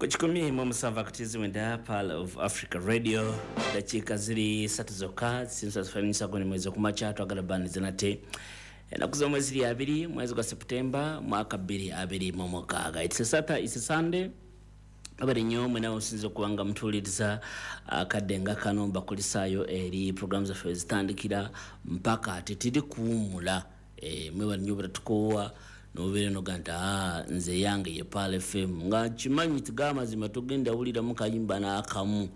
Ku 107 akatizi mwenda, Pearl of Africa Radio. Dakiika ziri 3 zokka sinsafanisagoni mwezi okumakya. Twagala baniza nate ennaku z'omwezi ziri 2, mwezi gwa Septemba, mwaka 2026. It's a Saturday, it's a Sunday. Abali nnyo mwena osinza okuba nga mutuuliriza akadde nga kano, mbakulisaayo eri programu zaffe wezitandikira mpaka tetiri kuwummula. Mwebali nnyo butatukoowa nobeera noga nti nze yange ye Pearl FM, nga nkimanyi tiga amazima togenda wuliramu kayimba n'akamu,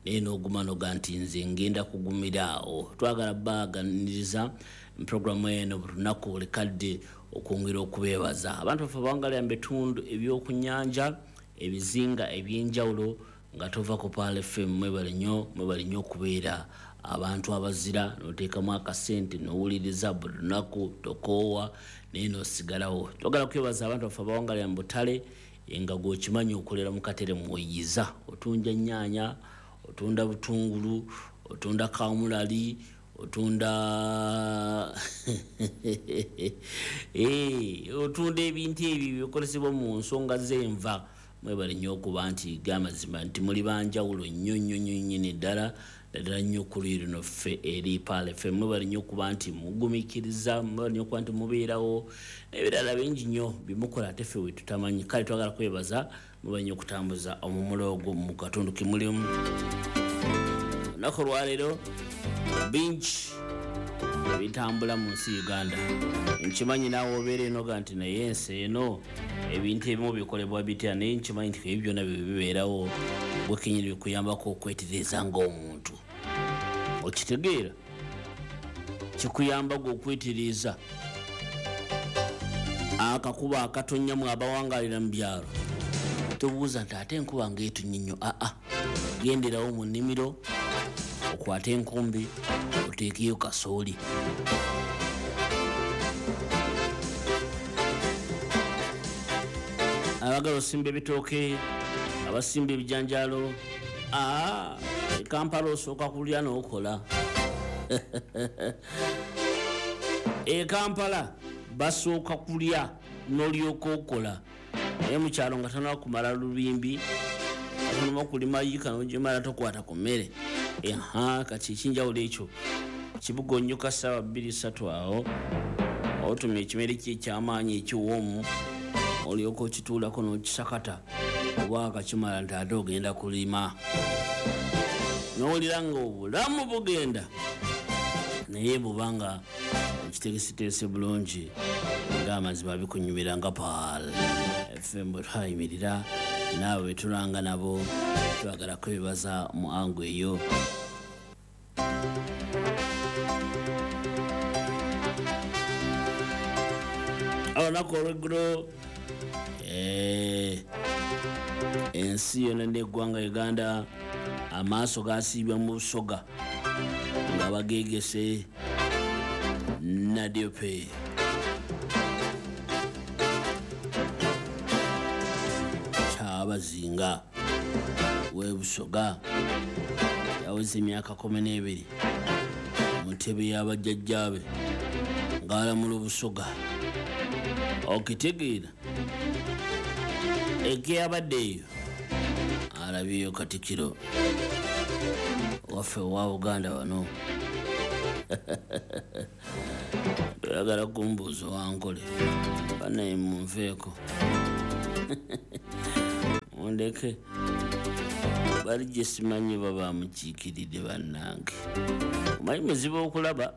naye n'oguma noga nti nze ngenda kugumira awo. Twagala baganiriza programu eno buli lunaku buli kadde okwongera okubeebaza abantu baffe abawangalira mu bitundu ebyokunyanja, ebizinga ebyenjawulo nga tova ku Pearl FM. Mwebale nnyo, mwebale nnyo okubeera abantu abazira n'oteekamu akasente n'owuliriza buli lunaku, tokoowa naye n'osigalawo. Twagala kwebaza abantu baffe abawangalira mu butale, nga gweokimanyi okolera mu katere mweyiza, otunja nnyaanya, otunda butungulu, otunda kamulali, otunda otunda ebintu ebyo bikozesebwa mu nsonga z'enva. Mwebale nnyo okuba nti gamazima nti muli banjawulo nnyo nnyo nnyo nnyini ddala ddala nnyo ku luyi luno ffe eri Pearl FM. Mwebale nnyo okuba nti mugumikiriza, mwebale nnyo okuba nti mubeerawo n'ebirala bingi nnyo bimukola ate ffe we tutamanyi. Kale twagala kwebaza, mwebale nnyo okutambuza omumulo ogwo mu katundu ke mulimu. Olunaku olwaleero bingi ebitambula mu nsi Uganda. Nkimanyi naawe obeera enoga nti naye ensi eno ebintu ebimu bikolebwa bitya, naye nkimanyi nti ebyo byonna bye bibeerawo gwe kenyini bikuyambako okwetereeza ng'omuntu. Okitegeera kikuyamba gwe okwetereeza. Akakuba akatonnyamu abawangalira mu byalo tobuuza nti ate enkuba ng'etonnya nnyo. Aa, genderawo mu nnimiro okwate enkumbi oteekeyo kasooli. Abagala osimba ebitooke, abasimba ebijanjaalo, e Kampala osooka kulya n'okola. E Kampala basooka kulya n'olyoka okola, naye mu kyalo nga tannaba kumala lubimbi, tonaba kulima yiika n'ogimala tokwata ku mmere. Kati ekinjawulo ekyo kibuga onnyuka ssaawa 2-3 awo otumya ekimere kye eky'amaanyi ekiwoomu olyoka okituulako n'okisakata oba akakimala nti ate ogenda kulima, n'owulira nga obulamu bugenda, naye bw'oba nga okiteeseteese bulungi ng'amazima bikunyumira nga Pearl FM bwe twayimirira naawe bwe tulanga nabo. Twagala kwebaza mu angu eyo. Olunaku olw'eggulo ensi yonna n'eggwanga Uganda amaaso gasiibwa mu Busoga nga bageegese Nadiope. Kyabazinga w'e Busoga yaweza emyaka 12 mu ntebe y'abajjajjaabe ng'alamula Obusoga. Okitegeera ekeyabadde eyo alabyeyo Katikkiro waffe owa Buganda wano. Toyagala kumbuuza wankole bannaye, munveeko mundeke, bali gye simanyi oba bamukiikiridde. Bannange, omanyi muzibu okulaba.